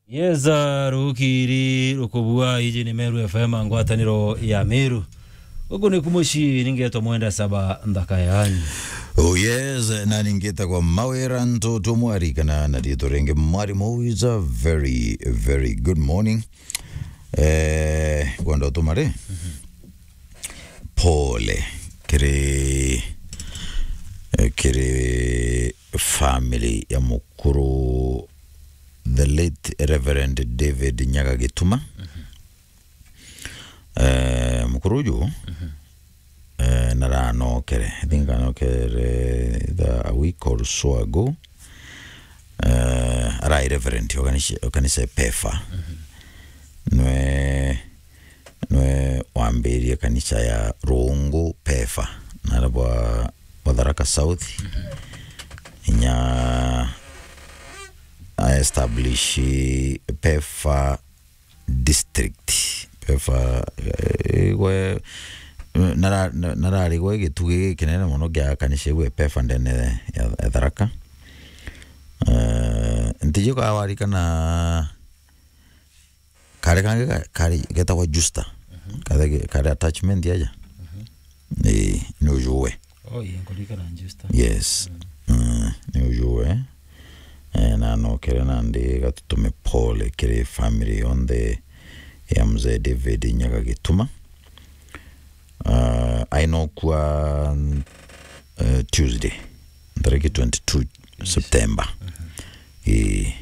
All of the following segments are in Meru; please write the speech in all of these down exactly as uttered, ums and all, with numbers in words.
Yes, uh, rukiri rukubua, iji ni Meru F M, ngwataniro ya Meru. Guku ni kumuci, ningetwa Mwenda Saba, nthaka yani. Oh yes, na ningetagwa Mawira Ntutu Mwari, kana na riitwa ringi Mwarimu. It's a very, very good morning. Eh, kwenda utuma ri? Pole kiri, eh, kiri family ya mukuru, the late Reverend David Nyaga Gituma. Eh, mukuru uju, eh, naranokere. I think anokere either a week or so ago. Eh, arai reverend o kanisa, o kanisa ya Pefa. Nwe, nwe wambirie kanisa ya Rungu Pefa, nara bwa, bwa Tharaka South. Inya a establish Pefa district. Pefa, eh, igwe, nara-, na-, nararigwa gitugi gikinene mono gia kanisa igwe Pefa ndene ya, ya Tharaka. Eh, ntiji ka warikana kari kangi ka-, kari getagwa Justa. Kari, kari attachment aja. Ii, ni ujuwe. Oh, ii, nkuririkana Justa. Yes. Mm, ni ujuwe. Eh, na nokere nandi gatutume pole kiri family yonthe ya Mzee David Nyaga Gituma. Ah, ainokua, eh, Tuesday, ntariki twenty-two September. Ii.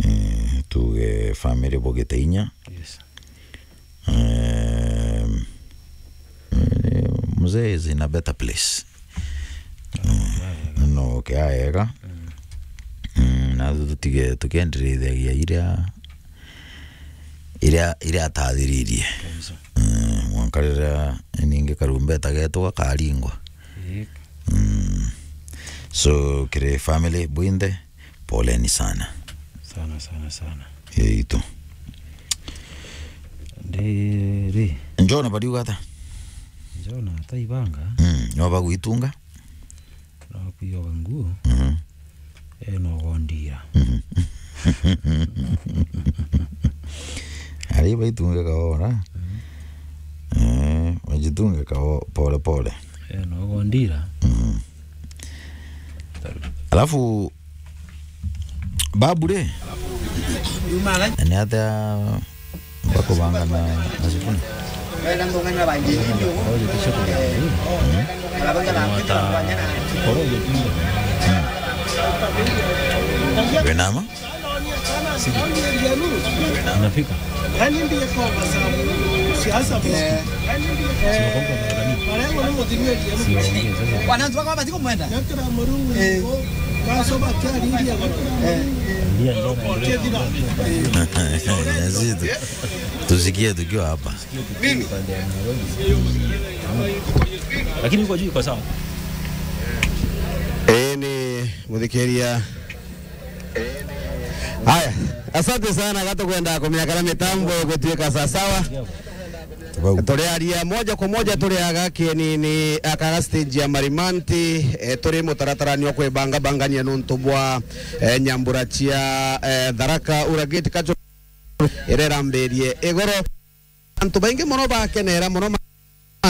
Eh, tuge family bogite inya. Yes. Ehm, eh, mzee is in a better place. Mm, no, okay, aega. Mm, na tutige, tukiendereithagia iria, iria, iria atathiririe. Kabisa. Mm, mwanka riria ningi karumbeta getu gakaringwa. Ii. Mm. So, kiri family bwinthe, poleni sana. Sana, sana, sana. Yeito. Ndiri. Njona bariuga ata? Njona ataibanga. Mm, no bagwitunga? No kwiyoga nguo. Mhm. Eh, no gondira. Mhm. Ari baitunge kaora. Mhm. Eh, wajitunge kao pole pole. Eh, no gondira. Mhm. Alafu, babu ri, ni atia bakubanga na, na sukuna? Wina ma? Inafika. Wananchi wako hapa siku mwenda. Eh. Ndio, ndio. Ndio, ndio. Tusikie tukiwa hapa. Mimi. Lakini uko juu, iko sawa. Ii ni muthikiria. Haya, asante sana, gatukwenda kumenya kana mitambo igutuika sasawa. Turiaria moja kwa moja, turiaga kienini akaga stage ya Marimanti, eh, turi mutaratarani wa kwibangabangania nontu bwa, eh, nyambura cia, eh, Tharaka Ura Gate Cultural iria irambirie igoro. Antu baingi mono bakenera mono ma-,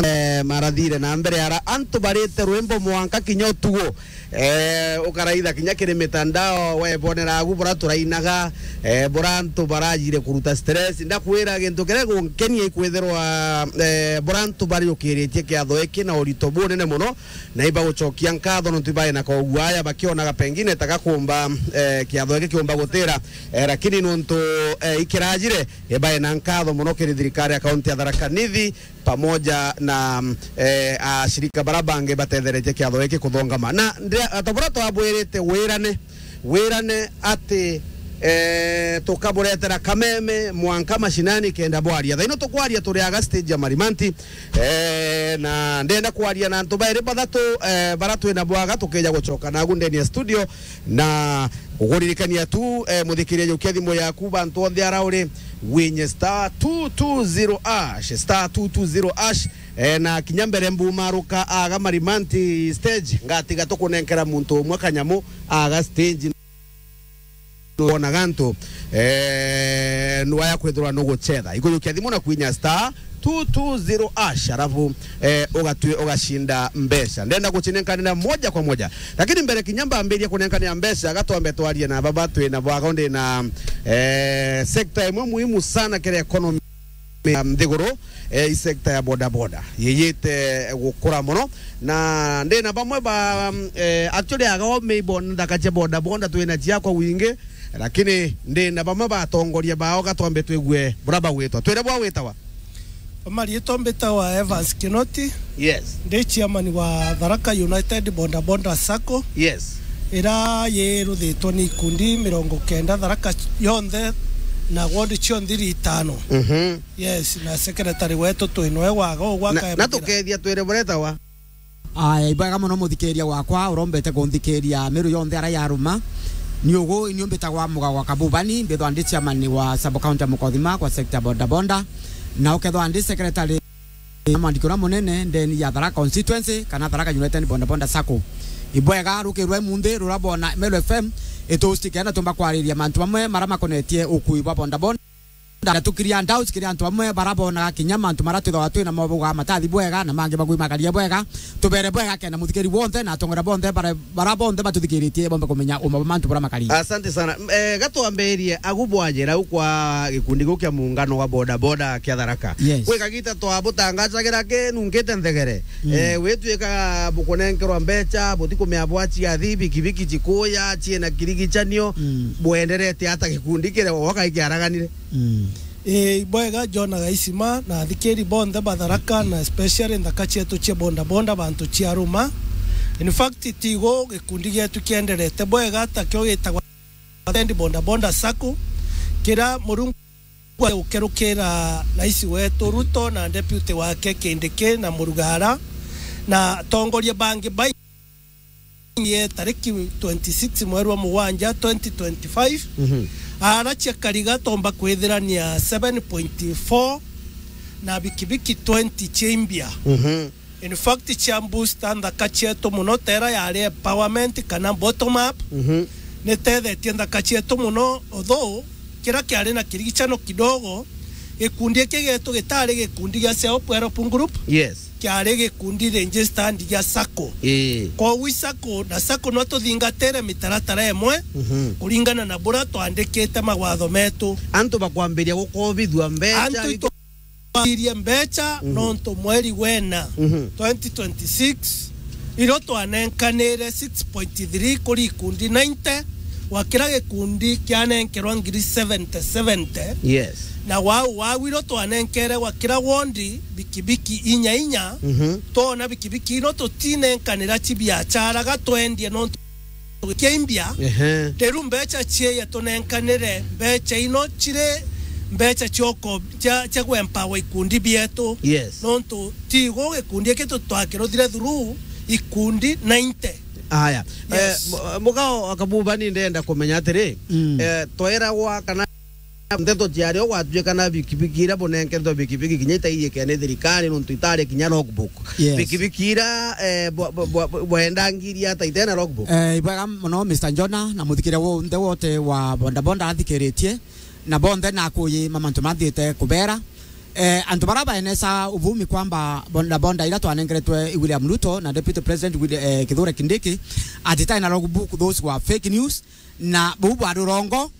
eh, marathire na mbere ara antu barite rwimbo mwanka kinya utugo. Eh, ukaraitha kinya kiri mitandao, webonera agu bura turainaga, eh, bura antu barajire kuruta stress. Ndakwira gintu kiria gunkenia ikwithirwa, eh, bura antu bariukiritie kiatho iki na urito bunene mono, na ibagucokia nkatho nontu ibae na koguaya bakionaga pengine ta gakumba, eh, kiatho giki kiumba gutira, eh, lakini nontu, eh, ikirajire, ibae na nkatho mono kiri thirikari ya kaunti ya Tharaka Nithi pamoja na, eh, ashirika bara bangi batetheretie kiatho giki kuthongama. Na ndi-, ta buria twabwirite, wirane, wirane ati, eh, tukaburetera kameme mwanka mashinani kenda bwaria. Thaino tukwaria turi aga stage ya Marimanti, eh, na ndenda kwaria na antu bairi bathatu, eh, bara twina bwaga tukija gucoka nagu ndeni ya studio, na uguririkania tu, eh, muthikiria, jukia thimu yaku bantu onthe ara uri, winye star two two zero hash, star two two zero hash, eh, na kinya mbere mbumaruka aga Marimanti stage, ngatiga tukunenkera muntu umwe kanyamu aga stage. wona gantu, eh, nwaya kwithirwa nuguchetha. Ikujukia thimu na kwinya star two two zero hash, alafu, eh, ugatwi-, ugashinda mbeca. Ndenda gucinenkanira moja kwa moja. Lakini mbere kinya mbambirie kunenkanira mbeca, gatwambe twarie na baba twina bwago ndi na, eh, sector imwe muhimu sana kiri economy ya nthiguru, eh, i sector ya boda boda yiyite gukura muno, na ndina bamwe ba, mm, eh, actually, agao meibo nthaka cia boda boda twina ciakwa wingi, lakini ndina bamwe ba atongoria bao, gatwambe twigue bura bagwitwa. Twire bwa gwitawa? Mariitwa mbitawa Evans Kinoti. Yes. Ndi chairman wa Tharaka United Boda Boda Sacco. Yes. Ira yiruthitwe ni ikundi mirongo kenda Tharaka yonthe na ward cionthe iri itano. Mhm. Yes, na secretary wetu twi noe waga ugwa. Na, na tukethia twire buretawa. Aya, ibwega muno muthikiria wakwa urombete kunthikiria miru yonthe ara yaruma. Ni ugu, ni umbitagwa Mugagwa Kabubani, mbithwa ndi chairman wa sub county ya Mukothima kwa sector boda boda. Na ukethwa ndi secretary na mwandiki uria munene ndeni ya Tharaka constituency kana Tharaka United Boda Boda Sacco. Ibwega rukirwe munthi rura bona Meru F M itusti kenda tumba kwariria mantu mamwe mara makonetie ukui bwa boda boda. Ndatukiria doubts kiri antu amwe bara bonaga kinya mantu mara twithagwa twina mo bauga matathi bwega, na mangi bagui makaria bwega. Tubere bwega kenda muthikiri bonthe na atongora bonthe bara, bara bonthe batuthikiritie bombe kumenya uma bwa mantu bara makaria. Asante sana. M-, eh, gatwambirie agu bwajira u kwa gikundi giu kia muungano wa boda boda kia Tharaka. Yes. Kwi kagita twabutangacagira kinunkite nthegere. Mm. Eh, witwika bukunenkerwa mbeca, butikumea bwaciathi, bikibiki cikuya, ciina kirigichanio, mm, bwenderete ata gikundi kire woka ikiaraganire? Mm. Ii, ibwega, John Gaisima, na athikiri bonthe ba Tharaka, na especially nthaka cietu cia boda boda, bantu cia Ruma. In fact, tigo gikundi gietu kienderete bwega, ta kio gitagwa United Boda Boda Sacco, kira Murungu ukerukira rais wetu Ruto na deputy wake Kindiki na Murugara, na atongoria bangi baingi ye tariki twenty-six mweri wa mugwanja twenty twenty-five, mhm, ara cia kariga tomba kwithirania seven point four na bikibiki twenty cia imbia. Mhm. In fact, cia booster nthaka cietu muno, tera yari empowerment kana bottom up, mhm, nitethetie nthaka cietu muno, although kira kiari na kirigicano kidogo, gikundi giki gietu gitari gikundi gia self help group. Yes. Kiari gikundi registered gia sacco. Ii. Koguo i sacco na sacco no tuthingatire mitaratara imwe, mhm, kuringana na buria twandikite mawatho metu. Antu bakwambiria gukobithua mbeca. Antu itu- Twakirie mbeca, mhm, nontu mweri wena, mhm, twenty twenty-six, irio twanenkanire six point three kuri ikundi ninety, gwa kira gikundi kianenkerwa ngiri seventy, seventy. Yes. Na wau, wau irio twanenkere gwa kira wondi bikibiki inya inya, mhm, twona bikibiki ino tutinenkanira ci biachara gatwendie nontu kia imbia. Ehe. Riu mbeca cieya tunenkanire, mbeca ino ciri mbeca cia uko-, cia, cia gwempower ikundi bietu. Yes. Nontu tigo gikundi giki tu-, twakiruthire through ikundi ninety. Aya. Yes. Eh, mu-, mugao akabuba ni ndenda kumenya atiri, mm, eh, tweragwa kana nteto ciari o gwatuika na bikibiki iria bunenketwe bikibiki kinya itaiyike ni thirikari nontu itari kinya logbook. Yes. Bikibiki iria, eh, bwa-, bwa-, bwa-, bwa-, bwendangiria ata itena logbook? Eh, ibwega muno, Mister Njona, na muthikiria wonthe wote wa boda boda athikiritie, na bonthe na akuyi ma mantu mathiite kubera. Eh, antu bara baenesa uvumi kwamba boda boda iria twanengeretwe i William Ruto na Deputy President Wil-, eh, Kithure Kindiki, ati itai na logbook, those were fake news, na buu bwa rurongo,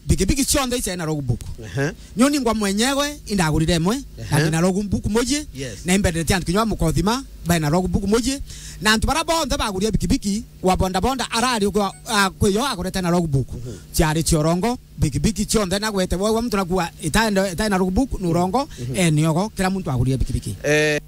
bikibiki cionthe iciari na logbook. Ehe. Nyoni ngwa mwenyewe indagurire imwe, na, ehe, ndina logbook muji, yes, na imbendete antu kinya ba Mukothima bai na logbook muji, na antu bara bonthe baguria bikibiki wa boda boda arari ukwa, a, kwi yo agurete na logbook. Mhm. Ciari cia urongo, bikibiki cionthe nagwete, wau muntu nakua itaenda, itai na logbook, ni urongo, mhm, eni ogo, kira muntu aguria bikibiki. Eh,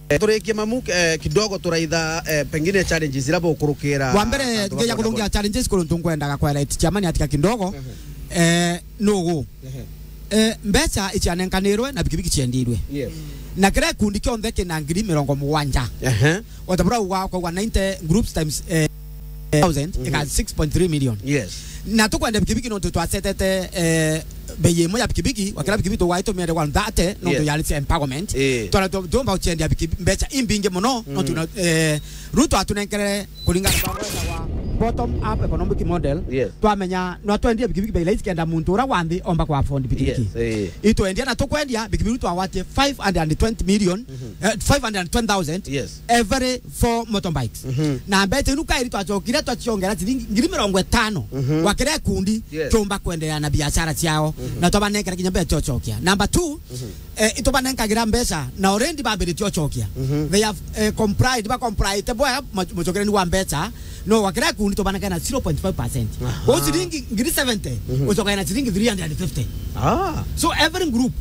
Eh, turikie mamu, eh, kidogo turaitha, eh, pengine challenges ira bukurukira. Wa mbere, antu ba ngeja boda kuthungia boda. Challenges kuru ntu ngwendaga kwa right chairman atika kidogo. Mhm. Eh, nugu. Mhm. Eh, mbeca icianenkanirwe na bikibiki ciendirwe. Yes. Na kira gikundi kionthe kina ngiri mirongo mugwanja. Ehe. Otabura ugwa kwa ninety groups times, eh, thousand, mhm, ika six point three million. Yes. Na tukwenda bikibiki nontu twasetete, eh, bei imwe ya bikibiki, wa kira bikibiki tugwaitumire one thirty, nontu, yes, yari cia empowerment. Eh. Twara tu-, tuomba guciendia biki-, mbeca imbingi muno, mm, nontu na, eh, Ruto atunenkere kuringana na wenda wa bottom up economic model, yes, twamenya no twendie bikibiki bei rahisi kenda muntu ura wa nthi omba ku afford bikibiki. Yes, eh. Itwendia na tukwendia bikibiki twagwatie five hundred and twenty million, mhm, eh, five hundred and twenty thousand, yes, every four motorbikes. Mhm. Na mbeca inu kairi twacokire twaciongera ciringi ngiri mirongo itano, mhm, gwa kira gikundi, yes, kiumba kwendelea na biashara ciao. Mhm. Na twabanengera kinya mbeca cia ucokia. Number two, mhm, eh, itubanenkagira mbeca na already bambiritie ucokia. Mhm. They have, eh, complied, ba complied bwa mu-, mucokereni wa mbeca, no gwa kira gikundi tubanengera na zero point five percent. Aha. Kwa ciringi ngiri seventy, mhm, ucokagia na ciringi three hundred and fifty. Ah. So every group,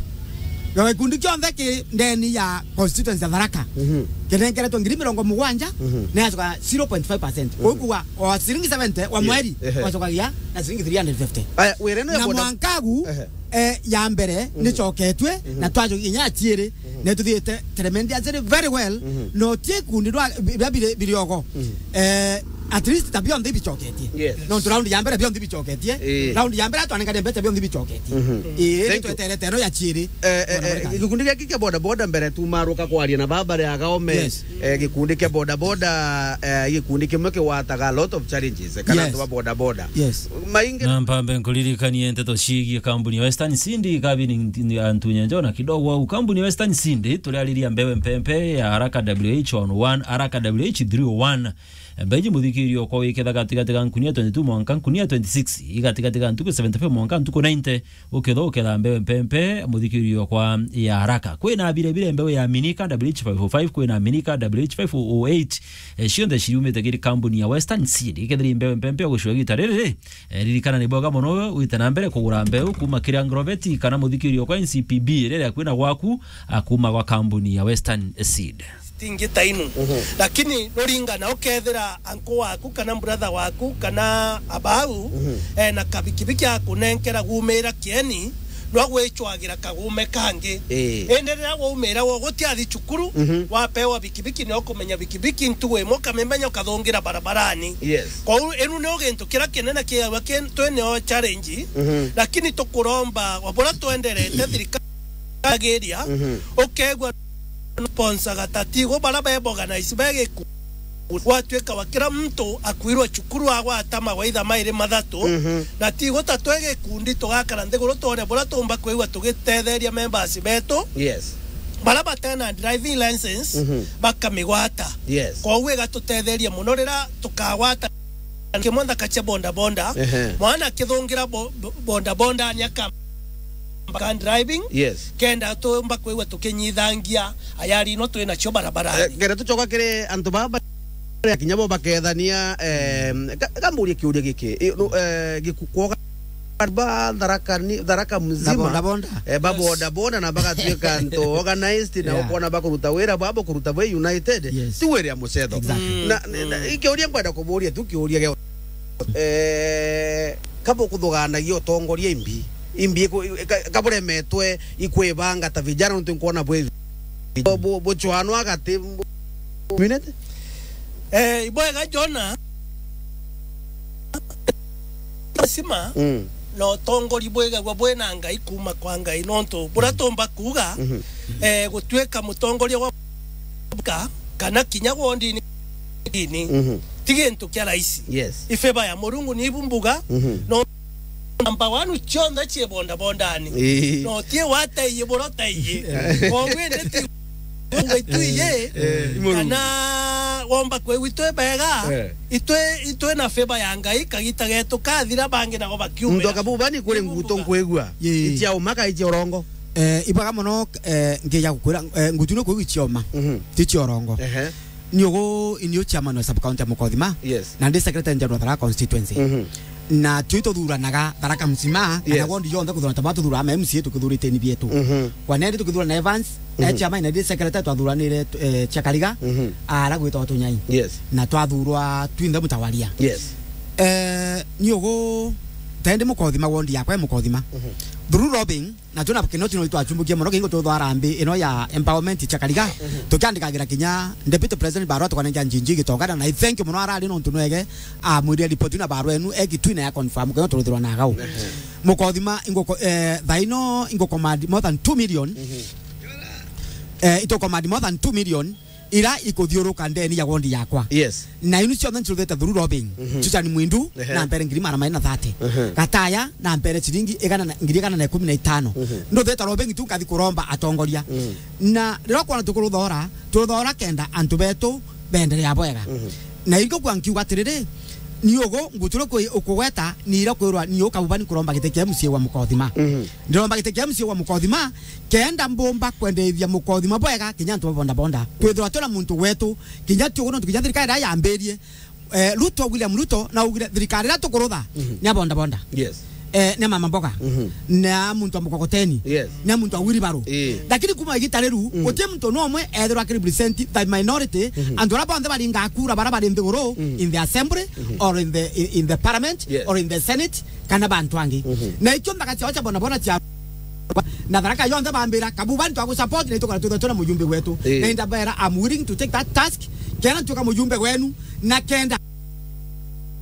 ya gikundi kionthe ki ndeni ya constituency ya Tharaka, mhm, kinengeretwe ngiri mirongo mugwanja, mhm, na yacoka zero point five percent. Mhm. Kwa hiyo kwa, kwa ciringi seventy wa, yes, mweri, ehe, wacokagia na ciringi three hundred fifty. Aya, wire no ya na boda- mwankagu, ehe, eh, ya mbere, mhm, nicoketwe, mhm, na twacokia inya ya ciiri, mhm, na tuthiite tremendously very well, mhm, no tie kundi rwa, bi-, bia biri-, biriogo. Mhm. Eh, at least ta bionthe ibicoketie. Yes. No tu round ya mbere bionthe ibicoketie. Eh. Round ya mbere twanengania mbeca bionthe ibicoketie. Mhm. Eh, thank you. Tweterete no ya ciiri. Eh, eh, eh, gikundi giaki kia boda boda mbere tu maruka kwaria na baba ria Gaome. Yes. Eh, gikundi kia boda boda, eh, gikundi kimwe kiwataga a lot of challenges, kana, yes, antu ba boda boda. Yes. Maingi na mpambe nkuririkanie nteto ciigie kambuni ya Western Seed, kabini nti-, antu nyenjo na kidogo au. Kambuni ya Western Seed, turiariria mbewe mpempe ya Haraka W H one oh one, Haraka W H three oh one. Mbeji muthikirio kwa wiketha gatigati ga nkunia twenty-two mwanka nkunia twenty-six, igatigati ga ntuku seventy-five mwanka ntuku ninety, uketha uketha mbewe mpempe muthikirio kwa ya Haraka. Kwina bire bire mbewe ya Minika W H five oh five, kwina Minika W H five oh eight, eh, cionthe ciriumite kiri kambuni ya Western Seed. Ikethiri mbewe mpempe ya gucua gita riri, eh, ririkana ni bwega mono wite na mbere kugura mbeu kuma kiri Agrovet kana muthikirio kwa N C P B riria kwina gwaku, a, kuma gwa kambuni ya Western Seed. Stingi ta inu. Mhm. Lakini nuringana ukethira anko waku kana brother waku kana abau, mhm, ena kabikibiki akunenkera gumira kieni, no gwicwagira kagume kangi. Ii. Indi riria waumira wo gutiathi cukuru, mhm, wapewa bikibiki, ni ukumenya bikibiki ntugu imwe ukamimenya ukathungira barabarani. Yes. Kwou inu ni gintu kiria kinene kiawa ki-, twineo challenge, mhm, lakini tukuromba wa buria twenderete thirikari agiria, mhm, ukegua sponsor gatatigo bara be organize be giku. Gwatuika wa kira muntu akuirwa cukuru agwata mawaitha mairi mathatu, mhm, na tigo ta twe gikundi tugakara nthiguru twone buria tumba kwigua tugitetheria members betu. Yes. Bara batena driving license, mhm, bakamigwata. Yes. Koguo igatutetheria muno riria tukagwata kimwe nthaka cia boda boda. Ehe. Mwana akithungira bo-, bo-, boda boda ni aka mpaka driving. Yes. Kenda tumba kwigua tukinyithangia ayari ino twina cio barabarani. Eh, kenda tucoka kiri antu baba baria kinya bo bakethania, eh, ka-, kamburie kiuria giki, eh, no, eh, giku-, kwoga ba Tharaka ni, Tharaka mzima. Na boda boda. Eh, ba, yes, boda boda na bagatuika antu organized na, yeah, ukona bakuruta wira babo kuruta bwe united. Yes. Ti wira ya mucetho. Exactly. Na, na, na, mm, ikiuria nkwenda kuburia tu kiuria gio. Eh, kaba ukuthuganagia utongoria imbi. Imbi iku-, ka-, kaburemetwe ikwibanga ta vijana ntu nkwona bwi bu-, bu-, buchwano agati bu-, minute? Eh, ibwega Jona. Lazima, mm, na utongori bwigagwa bwina Ngai kuma kwa Ngai, nontu buria, mm, tumba kuuga, mhm, eh, gutuika mutongoria wa ka-, kana kinya wondini, mhm, ti gintu kia rahisi. Yes. I favor ya Murungu ni ibu mbuga, mhm, no number one cionthe cie boda bodani. Ii. No tie wateiye buria uteiye. Koguo indi ti Ngai tu iye, eh, eh, i Murungu. Kana womba kwigua itwe bega, eh, itwe, itwe na favor ya Ngai, kagita getu kathira, bangi nabo bakiumira. Muntu akabubani kuri nguto nkwigua. Ii. Icia umaka, icia urongo. Eh, ibwega mono, eh, ngeja gukwira, eh, ngutu ni kwigua icia uma. Mhm. Ti cia urongo. Ehe. Ni ugu, ni u chairman wa sub county ya Mukothima. Yes. Na ndi secretary general wa Tharaka constituency. Mhm. Na tui tuthuranaga Tharaka mzima, kana, yes, ward yonthe kuthurana ta ba tuthura ma M C A tukithurite ni bietu. Mhm. Kwa nendi tukithurana Evans, mhm, eh, chairman na ndi secretary twathuranire, eh, Chakariga, mhm, ara gwitwa Tunyai. Yes. Na twathurwa twinthe mutawaria. Yes. Eh, ni ugu, tendi Mukothima ward yakwa e Mukothima. Mhm. Through lobbying, na tuna kinoti no twachumbukia mono kingo tuthwara mbi ino ya empowerment Chakariga. Mhm. Tukiandikagira kinya deputy president barua tukanenga njinji gitongana na I thank you mono arari nontu nwege amwire report na barua enu egitwina ya confirm kino turuthirwa na gau. Mhm. Mukothima ingo, eh, thaino ingo command more than two million. Mhm. Eh, ito command more than two million. ira ikuthiuruka ndeni ya wondi yakwa. Yes. Na inu cionthe ncuruthite through lobbying. Mhm. Susan Mwindu, ehe, na mpere ngiri magana mairi na thirty. Mhm. Gataya, na mpere ciringi igana na, ngiri igana na ikumi na itano. Mhm. Nduthite lobbying tu, nkathi kuromba atongoria. Mhm. Na riria kwona tukuruthora, turuthora kenda antu betu beenderea bwega. Mhm. Na irigukua nkiuga atiriri, ni ugu nguture kwi-, ukugweta, ni ira kwirwa ni ukabubani kuromba giti kia M C A wa Mukothima. Mhm. Ndiromba giti kia M C A wa Mukothima, kenda mbumba kwendeithia Mukothima bwega, kinya antu ba boda boda. Twithirwa twina muntu wetu, kinya ti ugu nontu kinya thirikari iria yambirie, eh, Ruto, William Ruto, na augire thirikari iria tukurutha, mhm, ni ya boda boda. Yes. Eh, ni ya mama mboga. Mhm. Ni ya muntu wa mukokoteni. Yes. Ni ya muntu wa wheelbarrow. Eh. Lakini kuma igita riu, mm, guti muntu no umwe ethirwa aki represent the minority, mhm, antu aria bonthe baringa kura, baria bari nthiguru, mm, in the assembly, mhm, or in the, in, in the parliament, yes, or in the senate, kana bantu angi. Mhm. Na ikio nthaka ciao cia bona bona cia na Tharaka yonthe bambira, "Kabuba, nitwagu support na itukara twithwa twina mujumbe wetu." Eh. Na indabera, "I'm willing to take that task, kenda ntuika mujumbe wenu, na kenda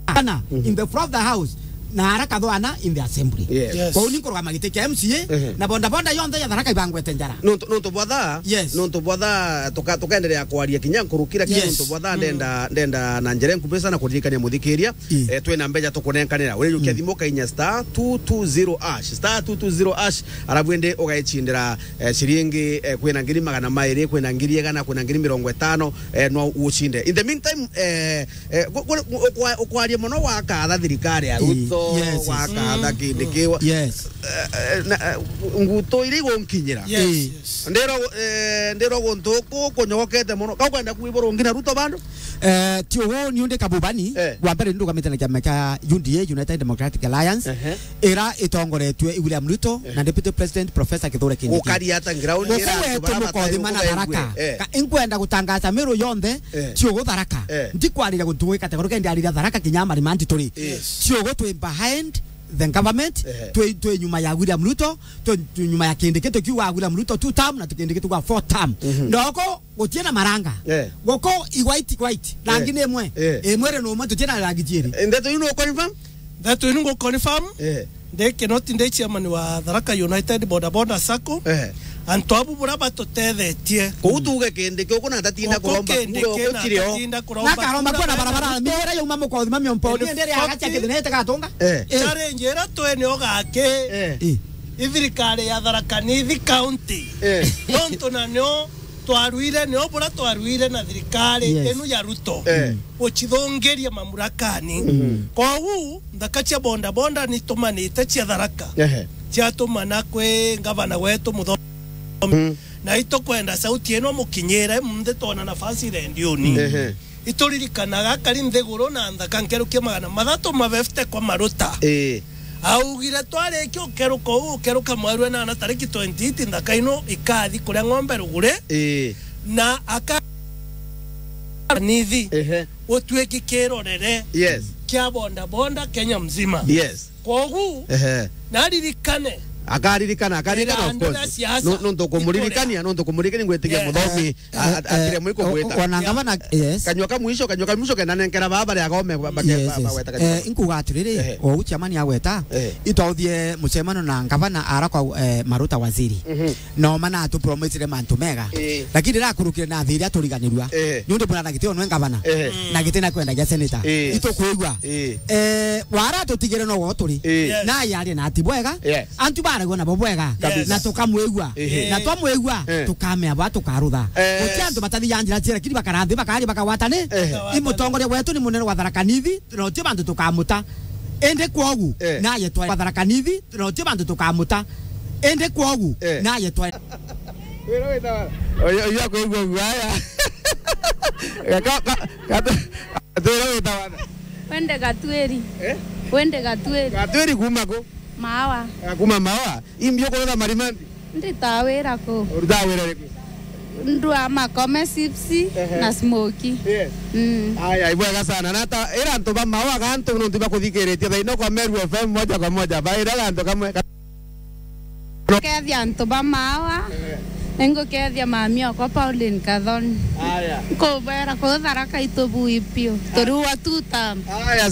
ana, mhm, in the floor of the house, na ara kathwana in the assembly." Yes. Yes. Kwou ni nkurugama giti kia M C A, mhm, na boda boda yonthe ya Tharaka ibangwete njara. Nontu, nontu bwa thaa, yes, nontu bwa thaa, tuka-, tukaendelea kwaria kinya nkurukira kinya, yes, nontu bwa thaa, mm, ndenda, ndenda na njira nkubi sana kuririkania muthikiria. Mm. Eh, twina mbeca tukunenkanira. Urijukia, mm, thimu ukainya star two two zero hash, star two two zero hash, arabu indi ugaicindira, eh, ciringi, eh, kwina ngiri magana mairi, kwina ngiri igana, kwina ngiri mirongo itano, eh, no ucinde. In the meantime, eh, eh, gu-, gu-, gu-, ukwa-, ukwaria mono wakatha thirikari ya, eh, Ruto, yes, yes, wakatha, mm, Kindiki, wa-, yes, eh, eh, na, eh, ngutu iria igunkinyira. Yes, eh, yes. Ndiro, eh, ndiro guntu ku kunyogokete mono. Ka ukwenda kwibura ungi na Ruto bando? Eh, ti ugu, ni undi Kabubani, eh, wa mbere ni ndugamite na kiama kia U D A, United Democratic Alliance, ehe, ira itongoretue i William Ruto, eh, na Deputy President Professor Kithure Kindiki. Gukari ata ground. Guku ira antu wetu bara Mukothima na batari Tharaka. Eh. Ka-, inkwenda gutangaza Meru yonthe, eh, ti ugu Tharaka. Eh. Ndikwariria guntu gwi category, kendi ariria Tharaka kinya Marimanti turi. Yes. Ti ugu twi behind the government, ehe, twi, twi nyuma ya William Ruto, twi, twi nyuma ya Kindiki, tukiuga William Ruto two term na Kindiki tukiuga four term. Mhm. Ndoko gutie na maranga. Eh. Guku i white, white. Rangi, eh, ni imwe. Eh. Imwe ri ni umwe, tutie na rangi ciiri. Eh, ndeto ino no confirm? Ndeto ino ngo confirm. Eh. Ndi Kinoti, ndi chairman wa Tharaka United Boda Boda Sacco. Eh. Antu abu bura batutethetie. Kuu tuuge Kindiki uku na ndatinda kuromba kura uku kiri o. Nakaromba kura na barabara, miera yauma Mukothima Miomponi, indi ria agacha kithina ite gatunga. Eh. Eh. Challenge ira twi ni ugaki. Eh. Eh. I thirikari ya Tharaka Nithi County. Eh. Nontu na nio twaruire, nio bura twaruire na thirikari, yes, inu ya Ruto. Eh. Gucithungiria mamurakani. Mm. Kwou, nthaka cia boda boda nitumanite cia Tharaka. Ehe. Ciatumana kwi ngavana wetu Muthomi. Mm. Na itukwenda sauti ino mukinyire, munthi twona nafasi rendioni. Ehe. Ituririkanaga akari nthiguru na nthaka nkerukia magana mathatu ma fifty kwa maruta. Ii. Augire, "Twarikia ukeruka uu, ukeruka mweru enana tariki twenty-eight, nthaka ino ikathi kuria ng'ombe ruguri." Ii. Na aka-, nithi, ehe, gutuiki kirorere, yes, kia boda boda Kenya mzima. Yes. Kogu, ehe, naririkane. Akaririkana, akaririkana, of course. Ira andu a siasa, no, nontu kumuririkania, ikuria, nontu kumuririkania ngwitikia, yes, Muthomi, a-, a-, eh, atire mwiko gwita. O-, ona ngavana, yes. Kanyua ka mwisho, kanyua ka mwisho kena nenkera baba ria gome ba-, ba-, yes, ba-, yes, bagweta kanyua. Eh, inkuga atiriri, ehe, o u chairman agweta, ehe, itwauthie mucemano na ngavana arakwa, eh, Maruta waziri. Mhm. No mana atu promisire mantu mega. Eh. Lakini rira akurukire na thiri aturiganirua. Eh. Ni undu murana gitio nwe ngavana. Eh. Na giti na kwendagia senator. Eh. Itukwigua. Eh. Eh, wara tutigire no wo turi. Eh. Yes. Na yari na ati bwega. Yes. Antu baragwa nabo bwega. Kabisa. Na tukamwigua. Eh. Na twamwigua, eh, tukamea ba tukarutha. Eh. Guti antu batathiaga njira ciere kiri bakarathi bakari bakawatani. Eh. I mutongoria wetu ni munene wa Tharaka Nithi, na uti bantu tukamuta. Indi kwogu, eh, naye twa Tharaka Nithi, na uti bantu tukamuta. Indi kwogu, eh, naye twa Wira witawa. Oyo, oyo akwigua guaya. Ka, ka, ka, ka, wira witawa. Wende Gatwiri. Eh? Wende Gatwiri. Gatwiri kuma ku? Mawa. Ah, kuma Mawa. Imbi ukurutha Marimanti? Nditaga wira ku. Urutaga wira riku? Ndua Makome chips, ehe, na smoky. Yes. Mm. Aya, ibwega sana. Na ta, ira antu ba Mawa ga antu nontu bakuthikiritie thaino kwa Meru F M moja kwa moja. Baira antu kamwe. Ngukethia antu ba Mawa, eh, ningukethia mami okwa Pauline Kathoni. Aya. Nkubera kuu Tharaka itubui piu. Turiua two term. Aya,